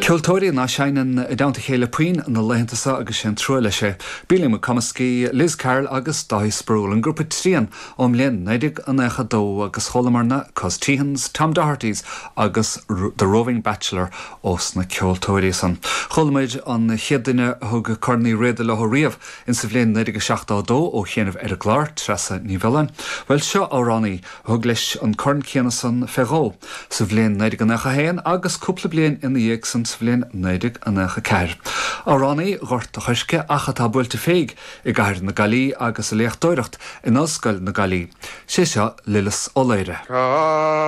Ceoltóirí ná seinneann i dteannta a chéile puinn na laethanta seo agus sé an trua leis é. Billy McComiskey, Liz Carroll agus Dáithí Sproule, an grúpa Trian ón mbliain 1992 agus chualamar na Cos Teehans, Tom Dohertys agus The Roving Bachelor ós na ceoltóirí san. Chuala muid an chéad duine a thug Corn Uí Riada leo riamh insa bhliain 1972 ó chianaibh ar an gclár, Treasa Ní Bheoláin. Bhuel seo amhránaí a thug leis an corn céanna san fé dhó, sa bhliain 1991 agus cúpla bliain ina dhiaidh san sa bhliain 1994. Amhránaí Ghort a' Choirce ach atá buailte féig i gcathair na Gaillí agus ag léachtóireacht in Ollscoil na Gaillí. Sé seo Lillis Ó Laoire.